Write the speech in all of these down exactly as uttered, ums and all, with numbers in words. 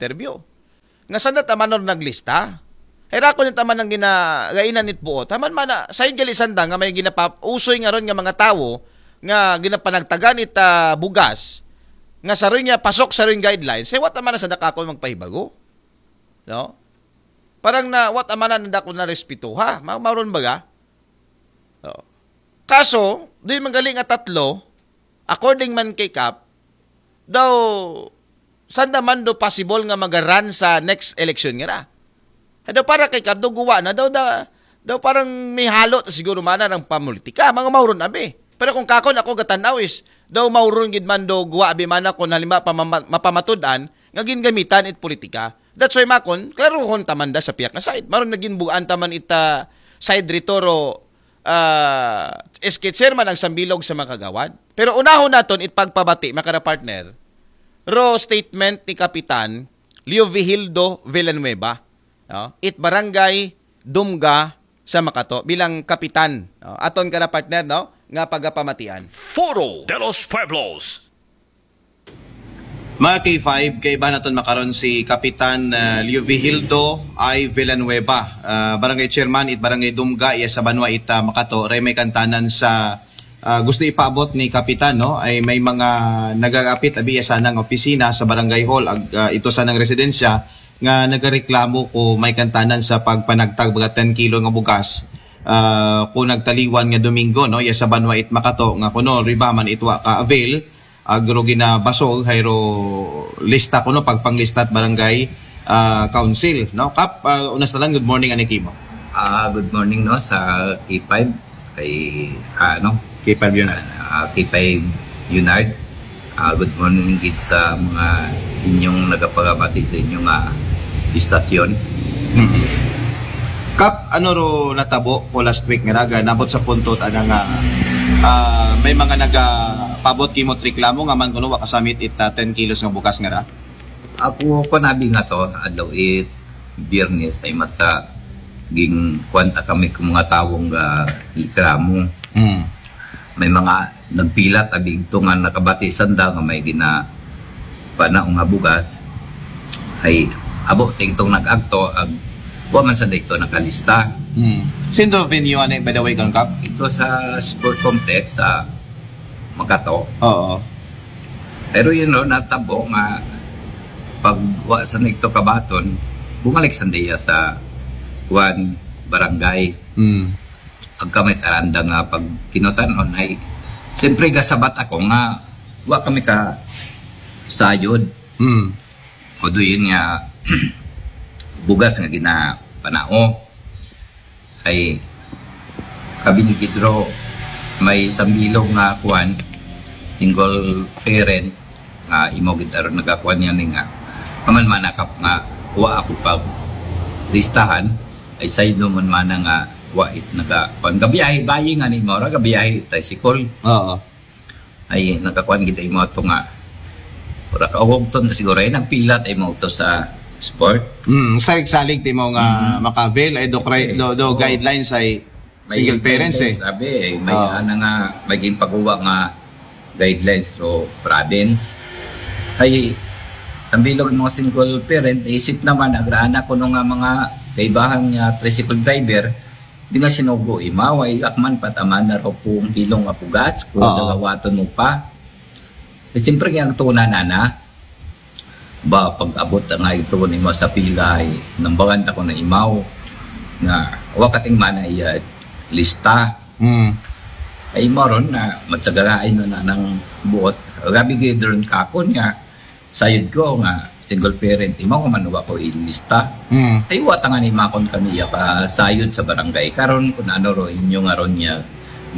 interview. Nga sanda ta man ron naglista. Hay ra ko niya ta man ang ginagainan it buot. Haman man na, sa gali sanda nga may ginapausoy nga ron nga mga tawo nga ginapanagtagan it ah, bugas nga sa ron nga pasok sa ron guidelines, say what naman na sanda kakon magpahibago. No? Parang na what naman na nanda ko na respeto ha. Ma mauron baga? No? Kaso, di man gali nga tatlo, according man kay Kap, daw sanda man do possible nga magaran sa next election nga ra. Daw para kay Kap, daw guwa na, daw, da, daw parang may halo ta siguro mana ng pamulitika, mga mauron abi. Pero kung kakon ako gatanaw is, daw mauron gid man do guwa abi mana kung halimbawa pa mama- mapamatudan nga gingamitan it politika. That's why makon, klaruhon ta man da sa piyak nga side. Maron naging buan ta man ita side ritoro ah, S K chairman ang sambilog sa mga kagawad. Pero unahon naton it pagpabati, mga partner, ro statement ni Kapitan Leovigildo Villanueva, no? It barangay Dumga sa Makato bilang kapitan, no? Aton ka na partner, no? Nga pagapamatian. Foro de los Pueblos. Mga K five, kaibahan naton makaron si Kapitan ah, Leovigildo I. Villanueva, ah, Barangay Chairman it Barangay Dumga, iya sa banwa it ah, Makato, ray may kantanan sa ah, gusto ipaabot ni Kapitan, no? Ay may mga nagagapit abi iya sanang opisina sa Barangay Hall, ag, ah, ito sanang residensya nga nagareklamo ko may kantanan sa pagpanagtag baga ten kilo nga bugas. Ah, ko nagtaliwan nga Domingo, no? Iya sa banwa it Makato nga kuno riba man itwa ka avail, agro ginabasog, hayro lista kuno pagpanglistat barangay ah, council, no? Kap, ah, unas talan, good morning ani kimo. Ah, good morning no sa K five kay ano, K five yun na. ah, K five Unard. Ah, good morning gid sa mga inyong nagapagabati sa inyong ah, istasyon. Kap, ano ro natabo ko last week nga raga, nabot sa punto ta nga ah, may mga nagapabot kimo reklamo nga man kuno wa kasamit it ah, ten kilos nga bugas nga ra. Ako ko nabi nga to, adlaw it Biyernes ay matsa ging kwanta kami kung mga tawong ga reklamo. Hmm. May mga nagpilat abi igto nga nakabati sanda nga may gina panao nga bugas. Ay abo tingtong nag-agto ag wa man sa dito nakalista. Hmm. Sino venue ani, by the way, kang Kap? Ito sa sport complex sa Makato. Oo. Pero yun no, natabo nga pag wa sa nagto kabaton, bumalik sa diya sa kuan barangay. Hmm. Ag kami karanda nga pag kinutan-on ay siyempre gasabat ako nga wa kami ka sayod. Hmm. O do yun nga bugas nga ginapanao ay kabinigidro may sambilog nga kuan single parent nga imo gid aron nagakuan yan nga kaman manakap nga wa ako pag listahan ay sayod naman mana nga wa it naga kuan gabiyahe bayi nga ni mora gabiyahe tricycle Oo. Ay nakakuan gid imo ato nga ura ka ugton na siguro ay nagpilat ay mo to sa sport. Mm, salig-salig ti mo nga maka-avail ay do, cri- do, do guidelines ay May single parents eh. Sabi eh, may Oo. Ana nga may ginpaguwa nga guidelines to province. Ay ang bilog mga single parent isip naman agrana kuno nga mga kaibahan nga tricycle driver di nga sinugo imaw ay akman pataman na ro pong kilong apugas ko Oo. Dalawaton mo pa. Eh, siyempre nga ang tuna na na ba pag abot nga ito ni mo sa pila ay nambangan ta ko na imaw nga wakating mana iya lista Mm. ay maron na matsagain na na ng buot gabi gidron kakon nga sayod ko nga single parent imaw nga manuwa ko ilista Mm. ay wata nga ni makon kaniya ka sayod sa barangay karon kun ano ro inyo nga ron niya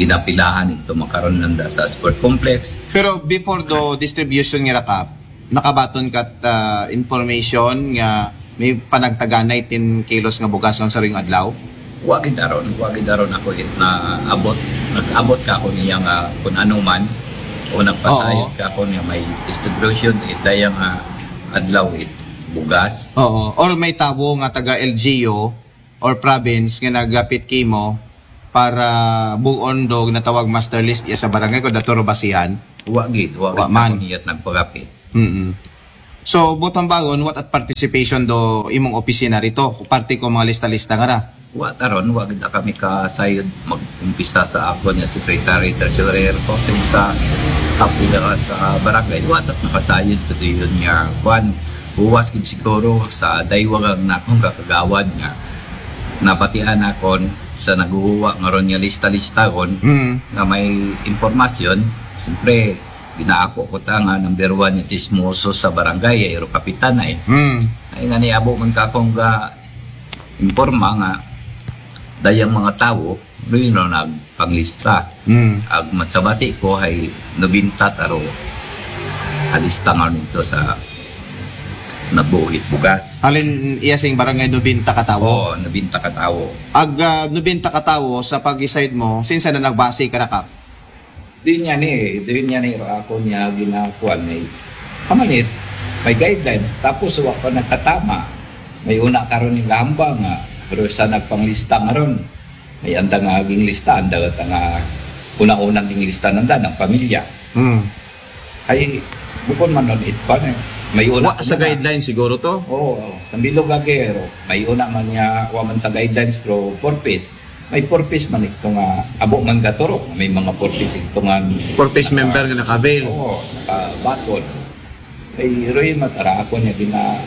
ginapilahan ito makaron nanda sa sport complex. Pero before do distribution nga rakap, nakabaton kat ah, information nga may panagtaganay ten kilos nga bugas nga sa ring adlaw? Wa gid aron, wa gid aron ako it na abot, nag-abot ka ako niya nga kun ano man o nagpasayod ka ako niya may distribution it daya nga adlaw it bugas. Oo. Or may tawo nga taga L G U or province nga nagapit kimo para buon do ginatawag master list iya sa barangay ko dato ro basihan. Wa gid, wa Wa gid man. Ako niya't nagpagapit. Mm. So, buot hambagon, what at participation do imong opisina rito? Parte ko mga lista-lista nga ra. Wa ta ron, wa gid kami kasayod mag-umpisa sa akon nga secretary, treasurer, ko sa staff nila sa barangay. Wa ta nakasayod ko diyon nga kwan. Buwas gid siguro sa daywa nga nakong kakagawad nga nabatian akon sa naguhuwa nga ron nga lista-lista ron Mm. nga may impormasyon. Siyempre, ginaako ko ta nga number one nga chismoso sa barangay, ay ro kapitan ay. Mm. Ay nga niabo man ka akong ga imporma nga dayang mga tawo, rin ro nagpanglista. Mm. Ag matsabati ko ay nobenta taro alista nga nito sa nabuhit bugas. Halin iya sing barangay nobenta ka tawo. Oo, nobenta ka tawo. Ag ah, nobenta ka tawo sa pag-decide mo, sinsa na nagbase ka na, Kap? Di niya ni, di niya ni ro ako niya ginakuan ni. Kamanit, may guidelines. Tapos wa pa nagkatama. May una karon ni gahamba nga, pero sa nagpanglista nga ron. May anda nga aging lista, anda ta nga una-unang ging lista nanda ng pamilya. Mm. Ay, bukon man nun it pa na. May una Wa sa guideline siguro to. Oo, sa bilog agero. May una man niya, wa man sa guidelines through purpose. May purpose man ito nga, abo man gaturo. May mga purpose ito nga. Purpose member nga naka-avail. Oo, nakabaton. Ay, Roy, matara ako niya gina,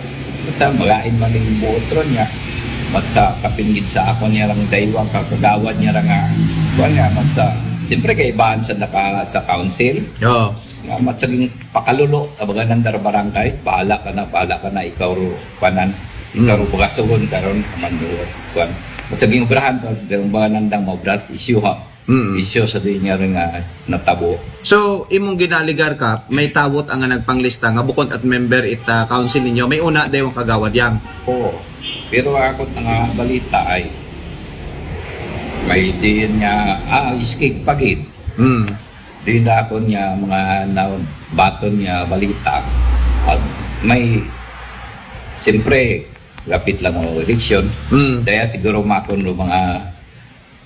sa magain man yung buot ron niya. Mat sa kapinggid sa ako niya lang daywang kakagawad niya lang nga. Kuwan niya, mat sa, siyempre kaibahan sa naka, sa council. Oo. Nga, mat sa ging pakalulo, abaga nandar barangay, bahala ka na, bahala ka na, ikaw ro, panan, ikaw ro bagasogon, karon, kaman ro, kuwan. Mat sa ging obrahan, karon ba nandang maobrat, issue ha. Mm. Issue sa di niya rin nga natabo. So, imong ginaaligar, Kap, may tawot ang nagpanglista nga bukon at member it ah, council ninyo, may una daywang kagawad yang. Oo. Pero ako nga balita ay may diin nga, ah, escape pagid. Mm. Diin na ako niya mga naon, baton niya balita. At may, siyempre, lapit lang ang eleksyon. Mm. Kaya siguro makon ro mga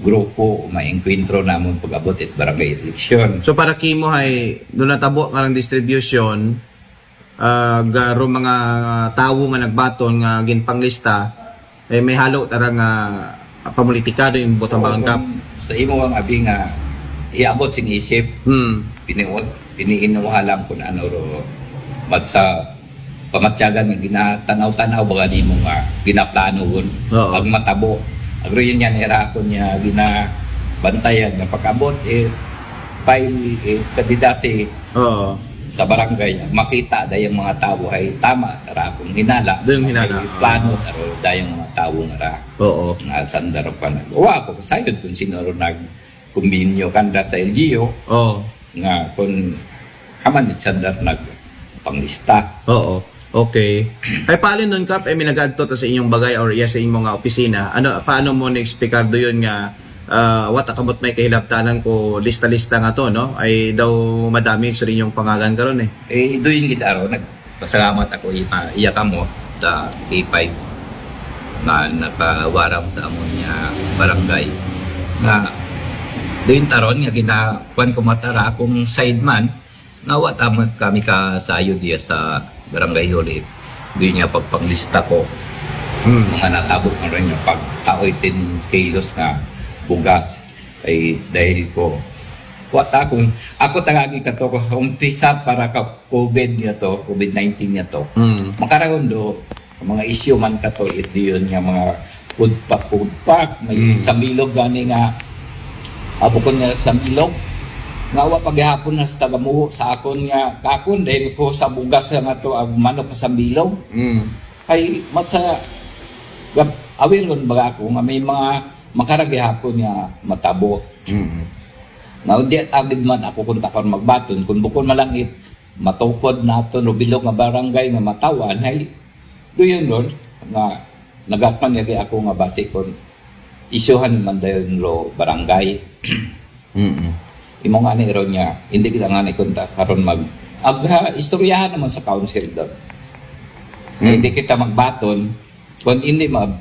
grupo, may engkwentro namon pag-abot it barangay eleksyon. So para kimo hay do natabo nga ng distribution ah, garo mga tawo nga nagbaton nga ginpanglista ay may halo tara nga pamulitika do yung botang Oo, bangkap. Sa imo ang abi nga iabot sing isip, Hmm. piniot, piniinuha lang kung ano ro mat sa pamatyagan nga ginatanaw-tanaw baga nimo nga ginaplano gun Oo. Pag matabo. Agro yun yan, era ko niya ginabantayan nga pag-abot eh file eh kadidasi Oo. sa barangay, makita da yung mga tao ay tama, tara akong hinala. Da yung hinala, May plano, taro da yung mga tao nga ra. Oo. Nga sandar pa na. Wa ako kasayod kung sino ro nag kumbinyo kanda sa L G U Oo. nga kung haman di sandar nag panglista. Oo. Okay. Ay paano nun, Kap, eh, may nag-adto ta sa inyong bagay or iya sa inyong mga opisina? Ano, paano mo na-explicar do yun nga ah, wata kamot may kahilabtanan ko lista-lista nga to, no? Ay daw madami sa inyong pangagan karon eh. Eh, doon gid aro, nagpasalamat ako ipa, iya kamo sa K five na nakawaram sa amon nga barangay. Nga, doon taron nga gina, kwan ko matara akong side man, nga wa tama kami kasayod diya sa barangay unit. Doon niya pagpanglista ko, Hmm. mga natabo nga rin yung pagtaoy ten kilos nga bugas ay dahil ko. Wa ta akong, ako tagagi ka to, umpisa para ka COVID niya to, COVID nineteen niya to. Hmm. Makaraon do, mga issue man ka to, it diyon nga mga food pack, food pack, may Mm. sambilog gani nga, abo ko nga sambilog, nga wa paghihapon na sa tagamuho sa akon nga kakon, dahil ko sa bugas nga to, ang manok sa sambilog. Hmm. Ay, mat sa, gab-, aware ron baga ako nga may mga makaragihapon nga matabo. Hmm. Nga, hindi agad man ako kung takar magbaton, kung bukon malangit, matupod nato, no bilog nga barangay nga matawan, ay, do yun ron, nga, nagakman nga di ako nga basi kung isyuhan man dayon ro barangay. Hmm. Imo nga ni ron niya, hindi kita nga ni kunta karon mag, ag, ha, istoryahan naman sa council doon. Hmm. Hindi kita magbaton, kung hindi mag,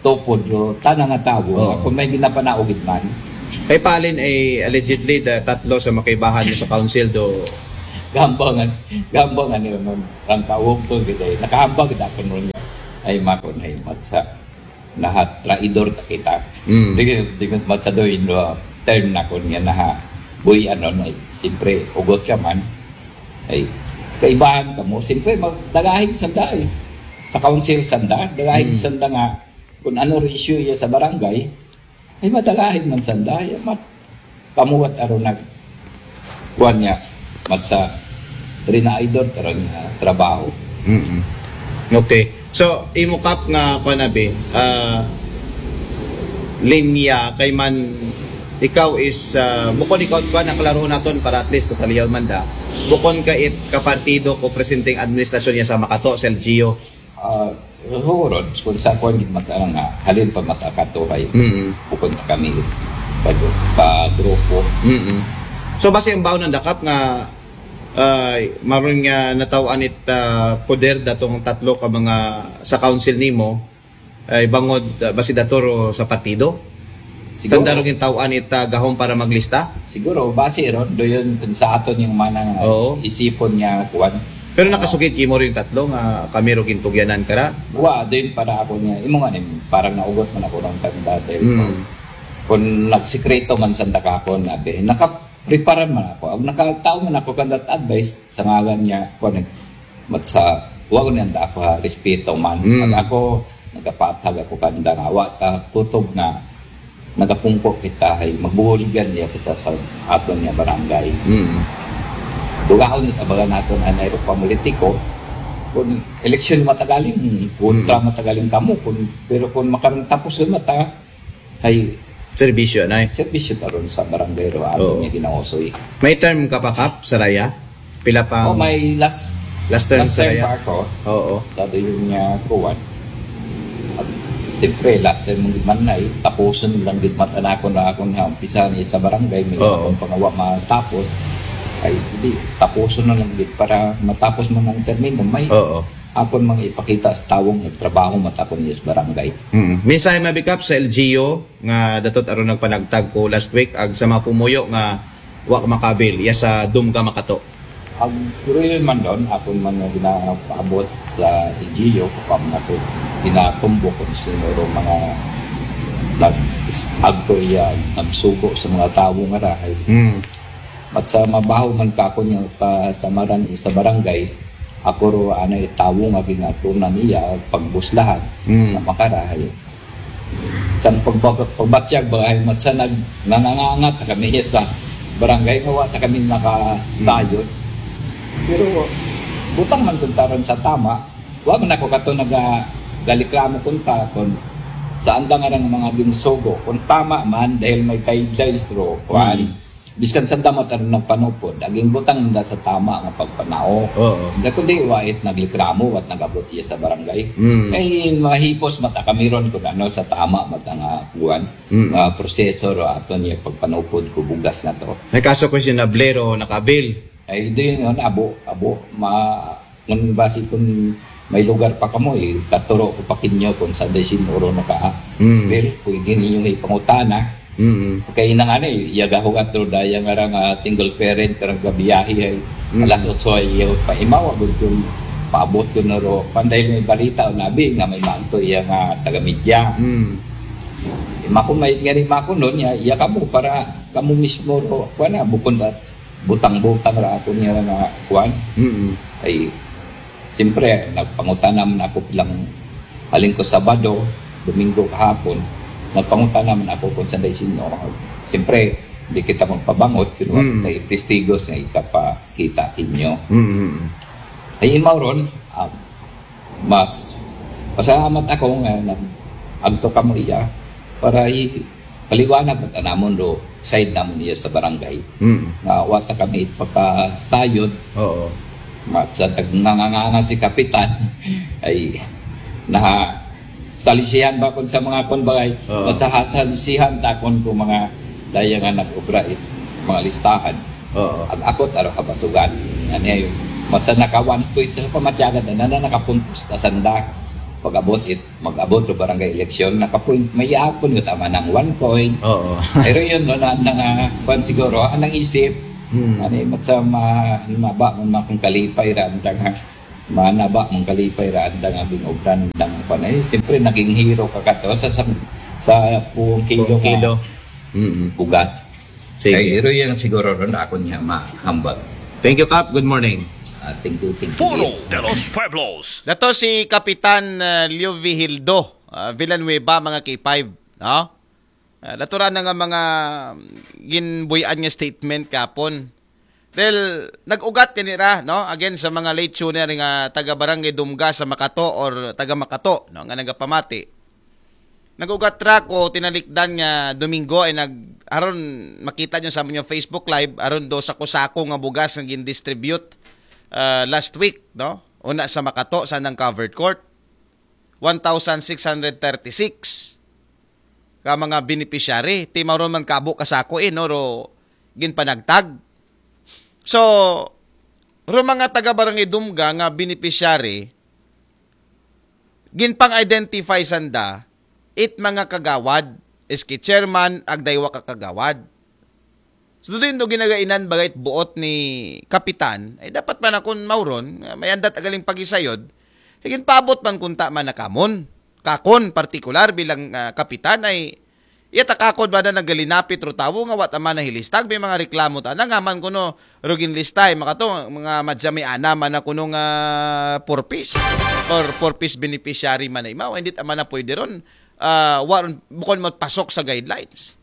tupod ro, tana nga tao, Oo. kung may ginapanaogid man. Kay palin ay allegedly da tatlo sa makaibahan mo sa council do Gambang, gambang ano yun, ang kaugtong kita eh. Nakahambang kita ko nun niya. Ay, makon ay, matsa. Nahat, traidor ta kita. Mm. Di, di, matsa doon, uh, term na ko niya na ha. Boy, ano na eh. Siyempre, ugot ka man. Ay, kaibahan ka mo. Siyempre, magdagahig sanda eh. Sa council sanda, dagahig Mm. sanda nga, kung ano issue iya sa barangay, ay madagahig man sanda. Ay, mat, kamuwat aro nag, kuwan niya, matsa, trinaidor, karon niya, trabaho. Mm-mm. Okay. So, imo Kap nga kuan abi, ah, linya kay man ikaw is ah, bukon ikaw kuan, ang klarohon naton para at least to kaliyaw man da. Bukon ka it kapartido ko presenteng administrasyon niya sa Makato sa L G U. Ah, siguro, kung sa kuwan, gid mata nga, halin pa mata katuhay, Mm. bukon ta kami, pa, pa grupo. Mm. So basi ang baon ng dakap nga ay maron nga natawaan it ah, poder datong tatlo ka mga sa council nimo ay bangod ah, basi datoro sa partido. Siguro. Sanda ro gintawaan it ah, gahom para maglista. Siguro, base ron, do yun, kung sa aton yung manang Oo. isipon niya, kuwan. Pero nakasugid kimo rin tatlo nga kami ro gintugyanan kara. Wa, do yun para ako niya, imo nga nim, parang naugot man ako ng kanda dahil Mm. kung nagsikreto man sa dakakon, abi, nakaprepara man ako. Ang nakataw man ako kandat advice sa ngalan niya, kuwan, mat sa, wa ko niyang dako ha, respeto man. Mm. Pag ako, nagapatag ako kanda nga, wa ta, kutob nga, nagapungko kita, ay magbuhuligan niya kita sa aton niya barangay. Mm. Dugaon ni tabagan naton anay ro pamulit-iko. Kung eleksyon matagaling, kontra matagaling kamo, kung, pero kung makarong tapos yung mata, ay Serbisyo na eh. Serbisyo taron sa barangay ro aton Oo. niya ginausoy. May term ka pa Kap sa raya? Pila pa? Oh, may last Last term last sa term raya? pa ako. Oo. Sa yun niya kuwan. At siyempre, last time mong gidman na eh, tapusun lang gidman anakon na akon ha, umpisa ni sa barangay, may Oo. akong pangawa matapos. Ay, hindi, tapusun na lang gid para matapos man ang termino. May Oo. akon mang ipakita sa tawong nagtrabaho matakon niya sa barangay. Mm. Mensahe mabi Kap sa L G U nga datot aron nagpanagtag ko last week ag sa mga pumuyo nga wa ka makabil iya sa Dumga Makato. Ang ruyon man doon, akon man nga ginapaabot sa L G U, kapag na ko ginatumbok kung siguro mga nag agto iya, nagsugo sa mga tawo nga rahay. Mm. At sa mabaho man ka ako niya pa sa maran sa barangay, ako ro anay tawo nga ginatunan iya, pagbuslahan Mm. na makarahay. Sa pagbag- pagbatyag, bagay mat sa nag nangangangat na kami sa barangay nga wa ta kami nakasayod. Pero butang man kuntaron sa tama, wa man ako kato naga galiklamo kunta kung saan da nga mga ginsugo. Kung tama man, dahil may guidelines ro, kuan, Mm. biskan sa dama taron nagpanupod, aging butang nila sa tama nga pagpanao. Oo. Hindi kundi wa it nagliklamo, wat nagabot iya sa barangay. Mm. Ay, mahipos mata kami ron kung ano sa tama mata nga kuan, Mm. nga proseso ro ato niya pagpanupod ko bugas na to. May kaso questionable ro nakabil. Ay, di yun, abo, abo, ma, kung basi kung may lugar pa kamo, eh, katuro ko pa kinyo kung sa desin oro na ka. Mm. Pero pwede ninyo ipangutana. Mm. Kay nang ano, eh, iya gahugat ro daya nga ra nga single parent karang gabiyahe ay Mm. alas otso ay iya pa imaw, agud kun paabot ko na ro. Panday may balita o nabi nga may maagto iya nga taga-media. Mm. Mako may nga rin mako nun, iya, iya kamo para kamo mismo ro, kuwan na, bukon at butang-butang ra ako niya nga kuwan. Mm. Ay, siyempre, nagpangutana man ako bilang halin ko Sabado, Domingo kahapon, nagpangutana man ako kung saan sino. Siyempre, hindi kita magpabangot, kung Mm. may testigos na ikapakita inyo. Mm. Ay, imaw ron, ah, mas pasalamat ako nga nag agto kamo iya para i paliwanag at anamon do side namon iya sa barangay. Mm. Nga wa ta kami ipakasayod, Oo. mat sa tag nanganganga si kapitan ay na salisihan ba kun sa mga kun bagay, Oo. mat sa salisihan takon ko mga daya nga nag-obra it mga listahan. Oo. Ag akot aro kabasugan. Ani ay mat sa naka one point sa pamatyagan na na nakapuntos ta sanda. Pag-abot it, mag-abot ro barangay eleksyon, naka-point, may apon nga tama ng one point. Oo. Pero yun, no, na, na, nga, kwan siguro, anang isip, Hmm. Ani, mat sa ma-, naba man akong kalipay ra, andang ha-, manaba mong kalipay ra, andang abing obran, andang panay. Siyempre, naging hero ka kato sa, sa, sa buong kilo, kilo. Mm-mm. Bugas. Sige. Ay, hero yan siguro ron, ako niya mahambag. Thank you, Kap. Good morning. Ah, thank you, thank you. Foro de los Pueblos. Dato si Kapitan, ah, Leo Vigildo, ah, Villanueva, mga K five, no? Ah, natural na nga mga ginbuy-an nga statement kapon. Dahil nag-ugat kanira, no? Again, sa mga late tuner nga taga Barangay Dumga sa Makato or taga Makato, no? Nga nagapamati. Nag-ugat ra ko, tinalikdan nga Domingo ay nag-, aron makita nyo sa inyong Facebook Live, aron do sako-sako nga bugas nga gin-distribute, ah, last week, no? Una sa Makato, sa nang covered court, one thousand six hundred thirty-six ka mga beneficiary. Ti mao ron man kabo ka sako, eh, no? Ro ginpanagtag. So, ro mga taga Barangay Dumga nga beneficiary, ginpang-identify sanda, it mga kagawad, S K chairman, ag daywa ka kagawad. So, doon do ginagainan bagay it buot ni Kapitan, ay dapat man akon mauron, nga may andat agaling pagisayod, ay ginpaabot man kunta man nakamon. Kakon, partikular bilang, ah, Kapitan, ay iya takakod ba na nagalinapit ro tawo nga wa ta man nahilistag, may mga reklamo ta na, nga man kuno, ro ginlista, ay makato, mga madya may ana man na kuno nga four Ps or four Ps beneficiary man na imaw, hindi ta man na pwede ron, ah, wa ron, bukon mo pasok sa guidelines,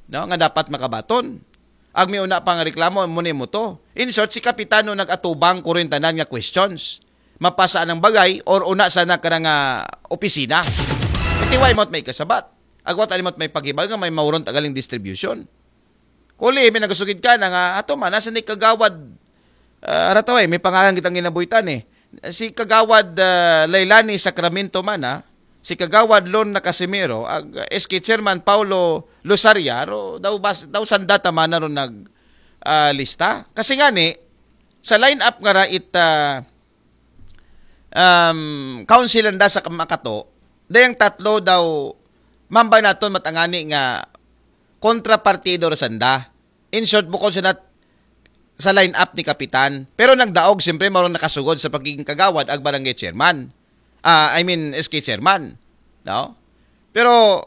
no, nga dapat makabaton. Ag may una pang reklamo, mo ni mo to. In short, si Kapitano nag-atubang ko rin tanan nga questions. Mapasa ng bagay or una sana ka nga opisina. Iti wa imot may kasabat. Agwat animot may pagibag nga may mauron tagaling distribution. Kuli, may nagasugid ka na nga, ato man, nasa ni Kagawad, ah, arataway, may pangalan kitang ginabuhitan, eh. Si Kagawad, ah, Lailani Sacramento man, ah, si Kagawad Lorna Casimero, ag, ah, S K Chairman Paulo Losaria, ro, daw, bas-, daw sanda ta man na ron nag, ah, lista. Kasi nga ni, sa lineup nga ra it, ah, um, council nanda sa Makato, dayang tatlo daw, mambay naton matangani nga kontrapartido ra sanda. In short, bukod sa nat-, sa lineup ni Kapitan. Pero nagdaog, siyempre, marong nakasugod sa pagiging kagawad ag barangay chairman. Ah, I mean, S K chairman. No? Pero,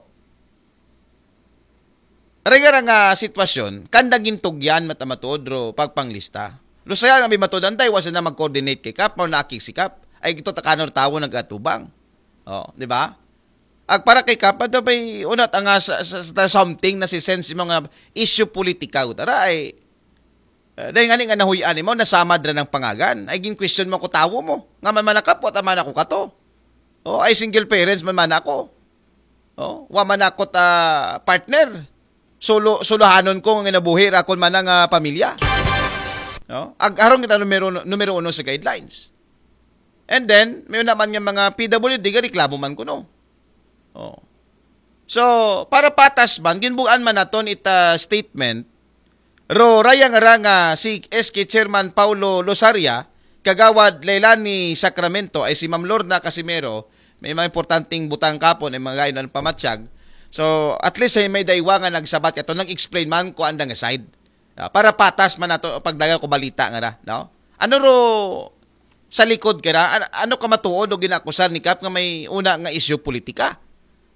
ringa nga sitwasyon, kanda gintugyan matamatuod ro pagpanglista. Lusaya nga may matuod antay, wasa na mag-coordinate kay Kap, mao na akig si Kap. Ay, ito takanor tawo nag-atubang. Oh, di ba? Ag para kay Kap, ato ba'y unat ang, ah, sa, sa, sa something na si sense mga issue politika, utara ay, eh, dahil nga ni nga nahuyan mo, nasamad ra ng pangagan. Ay, gin-question mo ko tawo mo. Nga man manakap, wa man ako kato. Oh, ay single parents man man ako. Oh, wa man ako ta partner. Solo, solohanon ko nga nabuhi ra kon man nga pamilya. No? Ag harong kita numero, numero uno sa guidelines. And then, may una man nga mga P W D, nga reklamo man kuno. Oh. So, para patas man, ginbuan man naton ita statement, ro rayang ra nga si S K Chairman Paulo Losaria, Kagawad Leilani Sacramento, ay si Ma'am Lorna Casimero, may mga importanteng butang kapon, ay mga gayon ng pamatyag. So, at least ay may daywa nga nagsabat kato, nag-explain man ko andang side. Ah, para patas man nato pagdagan ko balita nga ra, no? Ano ro sa likod ka ra? An-, ano ka matuod o ginakusar ni Kap nga may una nga isyu politika?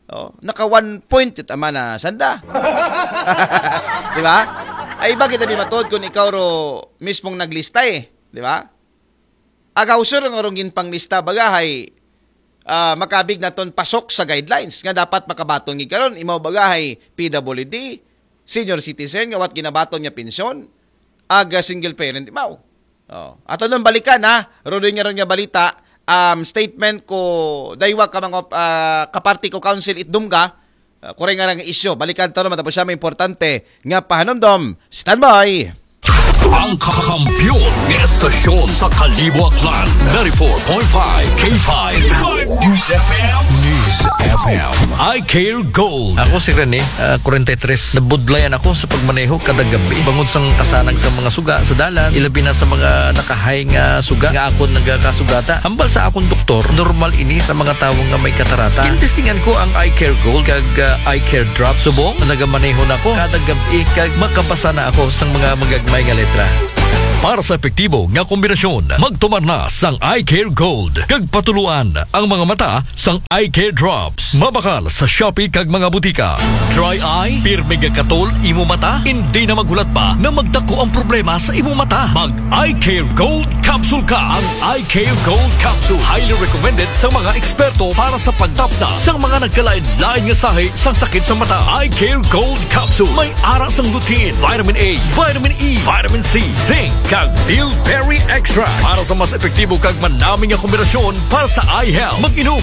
Oh, naka one point it ama na sanda. Di ba? Ay, iba kita di matuod kung ikaw ro mismong naglista eh. Di ba? Agaw sir ang arong ginpanglista bagahay, ah, makabig naton pasok sa guidelines nga dapat makabaton gid karon, imaw bagahay P W D, senior citizen nga wat ginabaton nga pensyon, aga single parent imaw. Oh, ato nang balikan ha, Rodin nga ron nga balita, um, statement ko daywa ka mga, ah, kaparti ko council it Dumga, ah, kuray nga nga isyu. Balikan to naman tapos siya may importante nga pahanumdom. Standby! Ang kakampiyon nga estasyon sa Kaliwat Land, ninety-four point five K five News F M. News F M. Eye Care Gold. Ako si Rene, ah, forty-three. Nabudlayan ako sa pagmaneho kada gabi. Bangod sang kasanag sa mga suga sa dalan, ilabi na sa mga nakahay nga suga nga akon nagakasugata. Hambal sa akon doktor, normal ini sa mga tawo nga may katarata. Gintestingan ko ang Eye Care Gold kag, ah, Eye Care Drop. Subong, nagamaneho na ko kada gabi kag makabasa na ako sang mga magagmay nga letra. Para sa epektibo nga kombinasyon, magtumar na sang Eye Care Gold kag patuluan ang mga mata sang Eye Care Drops. Mabakal sa Shopee kag mga butika. Dry eye, pirmi nga katol imo mata, hindi na maghulat pa na magdako ang problema sa imo mata. Mag Eye Care Gold Capsule ka. Ang Eye Care Gold Capsule highly recommended sa mga eksperto para sa pagtapna sa mga nagkalain-lain nga sahi sa sakit sa mata. Eye Care Gold Capsule may ara sang lutein, vitamin A, vitamin E, vitamin C, zinc, kag bilberry extract para sa mas epektibo kag manami nga kombinasyon para sa eye health. Mag-inom